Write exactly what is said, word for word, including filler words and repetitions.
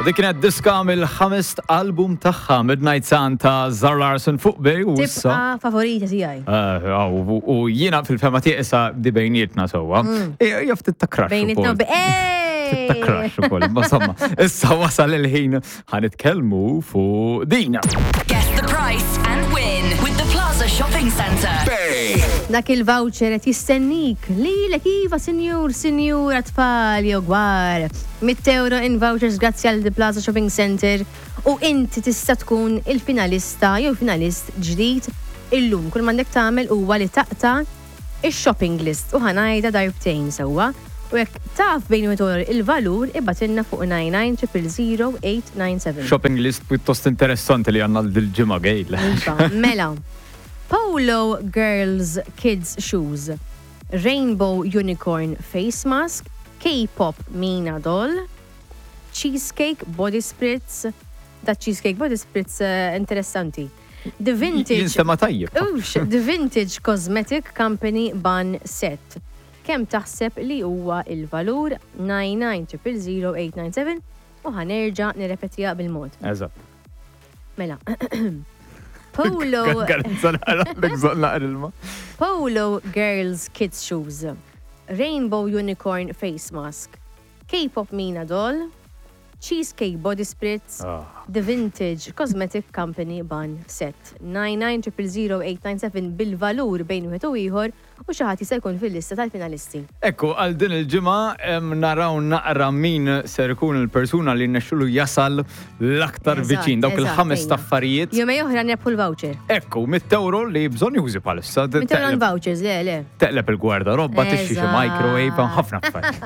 Dik kienet diska mill-ħames album tagħha, Midnight Sun ta' Zara Larsson, fuq Bay u issa. Tibqa' favorita tiegħi. Eh, u u jiena fil-fehma tiegħi issa di bejnietna sewwa. Hija ftit ta' crush Bejnietna ukoll. Ej! Ta' crush ukoll. Ma insomma, issa wasal il-ħin ħa nitkellmu fuq dina. Guess the price and win with the Plaza Shopping Centre. Bay. Dak il-voucher qed jistennik lilek, iva, sinjur, sinjura, tfal jew kbar. Mitt euro in vouchers grazzi għal The Plaza Shopping Center u inti tista' tkun il-finalista jew finalist ġdid illum. Kull m'għandek tagħmel huwa li taqta' ix-shopping list u ħa ngħidha darbtejn sewwa. U jekk taf bejn u il-valur, ibgħatilna fuq nine nine zero zero zero eight nine seven. Shopping list pjuttost interessanti li għandna dil-ġimgħa, Gail. Iva, mela. Polo Girls Kids Shoes, Rainbow Unicorn Face Mask, K-Pop Mina Doll, Cheesecake Body Spritz, da Cheesecake Body Spritz eh, interessanti. The Vintage Jinstema' tajjeb. Ux, The Vintage Cosmetic Company Bun Set. Kemm taħseb li huwa il-valur? nine nine zero zero zero eight nine seven u ħa nerġa' nirrepetiha bil-mod. Eżatt. Mela. Polo Garanza naqra naqra ilma. Polo Girls Kids Shoes, Rainbow Unicorn Face Mask, K-Pop Mina Doll, Cheesecake Body Spritz, Ah. The Vintage Cosmetic Company Bun Set. nine nine zero zero zero eight nine seven bil-valur bejn wieħed u ieħor u xi ħadd jista' jkun fil-lista tal-finalisti. Ekku, għal din il-ġimgħa em, naraw naqra min ser ikun il-persuna li nexxulu jasal l-aktar Eżatt, viċin, dawk eżatt, il-ħames ejja. affarijiet. Jumejn oħra nirbħu l-voucher. Ekku, mitt euro li bżonn jużi bħalissa. Mitt euro vouchers, le, le. Teqleb il-gwardarobba, tixtri xi Eżatt. microwave, ħafna affarijiet.